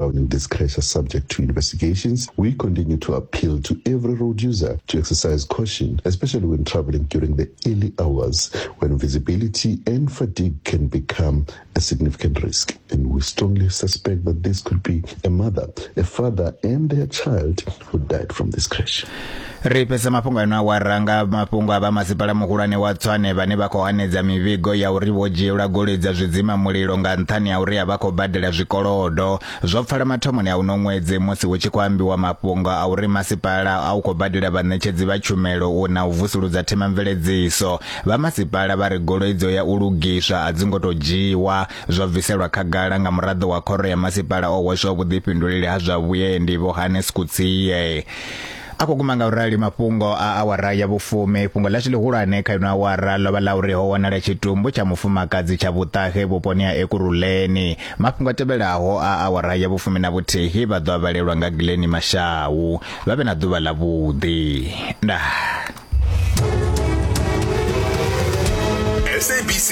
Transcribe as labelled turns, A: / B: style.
A: Surrounding this crash are subject to investigations. We continue to appeal to every road user to exercise caution, especially when traveling during the early hours when visibility and fatigue can become a significant risk. And we strongly suspect that this could be a mother, a father, and their child who died from this crash.
B: Ri fhedza mafhungo ano awara nga mafhungo a vha masipala muhulwane wa Tshwane vhane vha khou hanedza mivhigo ya uri vho dzhielwa goloi dza zwidzima mulilo nga nṱhani ha uri a vha khou badela zwikolodo. Zwo pfala mathomoni a uno ṅwedzi musi hu tshi khou ambiwa mafhungo a uri masipala a u khou badela vhaṋetshedzi vha tshumelo u na u vusuludza themamveledziso. Vha masipala vha ri goloi dzo ya u lugiswa a dzi ngo tou dzhiwa. Zwo bviselwa khagala nga muraḓo wa khoro ya masipala o hweswaho vhuḓifhinduleli ha zwa vhuendi Vho Hannes Kutsie. A khou guma nga u rali mafhungo a awara ya vhufumi. Fhungo ḽashu ḽihulwane kha ino awara ḽo vha ḽa uri ho wanala tshitumbu tsha mufumakadzi tsha vhuṱahe vhuponi ha Ekurhuleni. Mafhungo a tevhelaho a awara ya vhufumi na vhuthihi vha ḓo a vhalelwa nga Glenn Mashau. Vha vhe na ḓuvha ḽavhuḓi. Ndaa.
C: SABC.